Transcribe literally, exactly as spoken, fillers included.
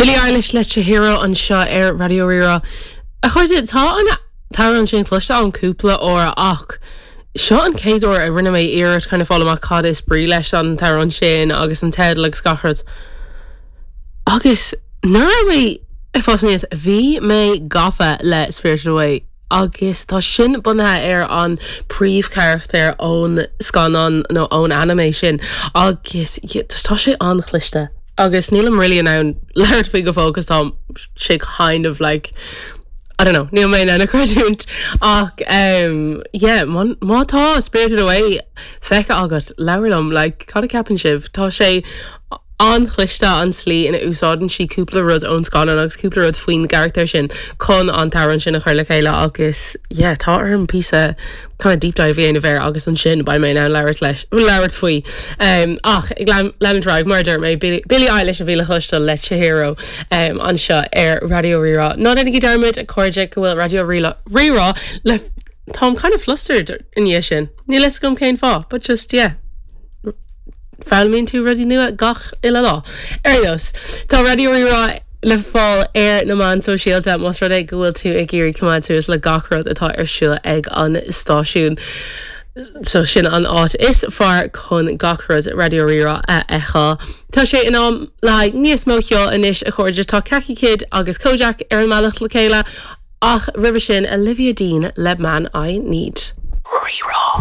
Billie Eilish le Chihiro anseo ar Raidió Rí-Rá. A chairde tá an t-amhrán sin cloiste agam cúpla uair ach seo an chéad uair a rinne mé iarracht kind of fáil amach cad is brí leis an t-amhrán sin agus an teideal agus gach rud. Agus nuair a bhí ag fás aníos bhí mé gafa le Spirited Away agus tá sin bunaithe ar an príomhcharachtar ón scannán nó ón anime sin agus tá sé an-chliste. Agus nílim really in ann labhairt faoi go fóill tá sé kind of like I don't know, níl mé in ann creidiúint ach um, yeah, má tá Spirited Away feicthe agat labhair liom like, cad a cheapann sibh tá sé an-chliste an tslí ina úsáideann sí cúpla rud ón scannán agus cúpla rud faoin gcarachtar sin chun an t-amhrán sin a chur le chéile agus yeah, tá orm píosa kind of deep dive a dhéanamh air agus ansin beidh mé in ann labhairt leis labhairt faoi. Um, ach ag leanúint mar deir mé Billie Eilish a bhí le cloisteáil le Chihiro um, anseo ar Raidió Rí-Rá. Ná déanaigí dearmad a chairde go bhfuil Raidió Rí-Rá le Táim kind of flustered in dhiaidh sin. Níl a fhios agam cén fáth, but just yeah. Foghlaimíonn tú rudaí nua gach uile lá. Ar nós Tá Raidió Rí-Rá le fáil ar na meáin sóisialta más rud é go bhfuil tú ag iarraidh coimeád suas le gach rud atá ar siúl ag an stáisiún. So sin an áit is fearr chun gach rud Raidió Rí-Rá a fheiceáil. Tá sé in am le níos mó ceoil anois a chairde tá Kaki Kid agus Kojaque ar an mbealach le chéile ach roimhe sin Olivia Dean le Man I Need. Rí-Rá.